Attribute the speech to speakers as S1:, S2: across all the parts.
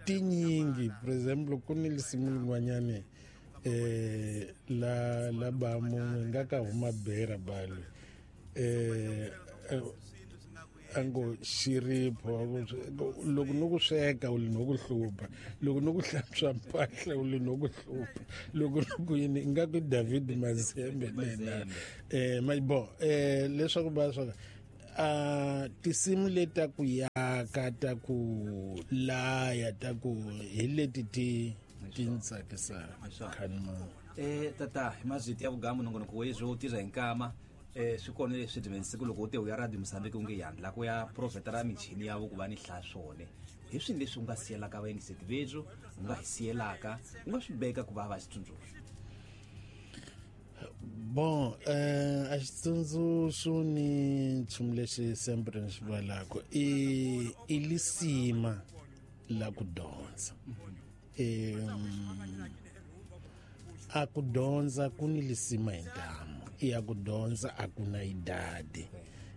S1: Tinyingi, for example, ku ni lisimu lin'wanyani la la ba mun'we nga ka huma bera balo a ngo xiripho, loko no ku sweka u li no ku hlupha, loko no ku hlantswa mpahla u li no ku hlupha, loko no ku yini, ingaku i David Mazembe nena bon leswaku va swa a tinsimu leti ta ku yaka, ta ku laya, ta ku hi leti ti ti ni tsakisaka khani.
S2: Tata, hi mazwiti ya vugambu nongonoko wezwo wu tirha hi nkama. Swi kona leswi dimensiku loko u te u ya Radio Mozambique u nge yandla ku ya profeta ra michini ya vo ku va ni hlaya swone. Hi swini leswi u nga siyelaka vayingiseti vethu, u nga hi siyelaka, u nga swi beka ku va va xitsundzuxo?
S1: Bon, a xitsundzuxo ni nchumu lexi sempre ni xi valaka i lisima la ku dyondza. A ku dyondza ku ni lisima hi ntamu, ya ku dyondza a ku na idadi.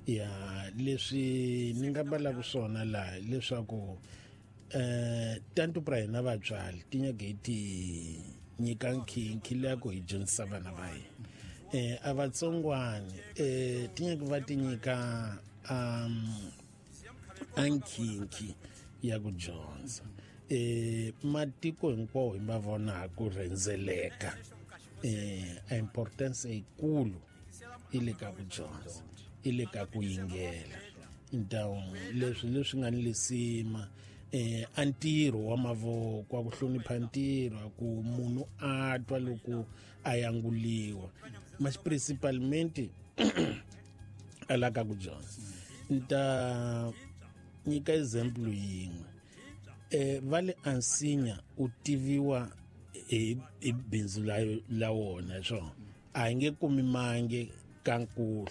S1: Ya leswi ni nga balaka swona laha leswaku tantu pra hina vatswari ti nyaka hi ti nyika nkhinkhi leya ku hi dyondzisa vana va hina. A vatsongwani ti nyaka va ti nyika a nkhinkhi ya ku dyondza. Matiko hinkwawo hi ma vona ku rhendzeleka, a importance yikulu i le ka ku dyondza, i le ka ku yingela. Ntawu leswi leswi nga ni lisima a ntirho wa mavoko, a ku hlonipha ntirho, a ku munhu a twa loko a yanguliwa, mas principalmente a la ka ku dyondza. Ni ta nyika example yin'we. Va le Ansinya u tiviwa hi bindzu la wona, swona a hi nge kumi mange ka nkuhlu,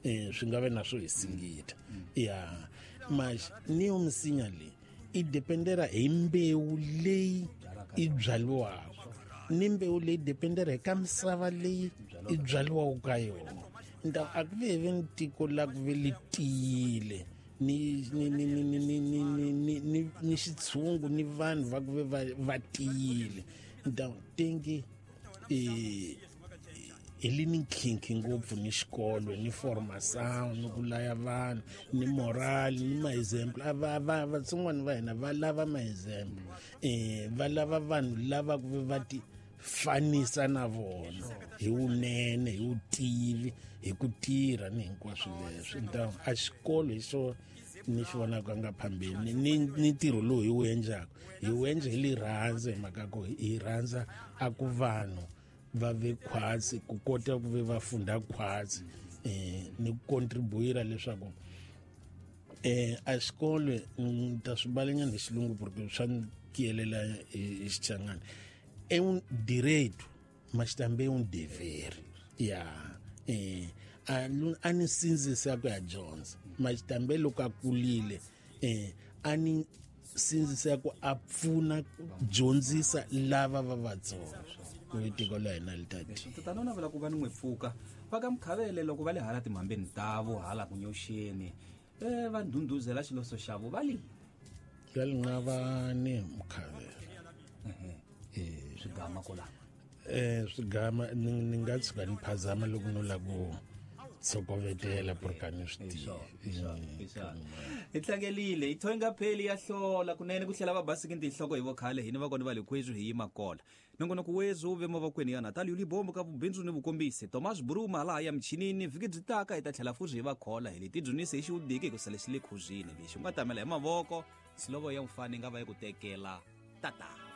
S1: swi nga ve na swo hi singita. Ya mas ni yo misinya leyi i dependera hi mbewu leyi i byaliwaka, ni mbewu leyi dependera hi ka misava leyi i byaliwaka ka yona. Nta a ku ve ve ni tiko la ku ve li tiyile ni ni ni ni ni ni ni ni ni ni ni xitshungu ni vanhu va ku ve va tiyile. Nta tengi hi li ni nkhinkhi ngopfu ni xikolo ni formation ni ku laya vanhu ni moral ni ma-example. A va vatsongwana va hina va lava ma-example, va lava vanhu lava ku ve va ti fanisa na vona hi vunene, hi vutivi, hi ku tirha ni hinkwaswo leswi. Nta a xikolo hi xo ni xi vonaka nga phambeni ni ntirho lowu hi wu endlaka, hi wu endla hi lirhandza, hi mhaka ku hi rhandza a ku vanhu va ve khwatsi, ku kota ku ve va funda khwatsi, ni ku contribuira leswaku a xikolo ni ta swi balanyana hi xilungu porque swa ni kiyelela hi Xichangani. É um direito, mas também um dever. Ya a ni sindzisa ku ya dyondza, mas também loko a kulile a ni sindzisa ku a pfuna ku dyondzisa lava va vatsongo ku tiko la hina li ta tiya.
S2: Tatana u navela ku va ni n'wi pfuka va ka Mukhavele loko va le hala timhambeni tavo hala ku nyoxeni, va ndhundhuzela xiloso xavo va li
S1: va li nga va ni Mukhavele.
S2: Swigama kola.
S1: Swigama ni nga tshuka ni phazama loko no la ku tshokovetela porque a ni swi tivi.
S2: Hi tlangelile hi thoyi nga pheli ya hlola kunene ku tlhela va basiki tinhloko hi vokhale hini va kona va le khwezwi hi yima kola. Nongonoko wezwo wu ve mavokweni ya Natalia Libombo ka vubindzu ni vukombisi Thomas Bruma laha ya michinini. Vhiki byi taka hi ta tlhela futhi hi va khola hi leti dzunise hi xiwudiki hi ku sale xi le khuzini lexi u nga tamela hi mavoko silovo ya mufani nga va yi ku tekela tata.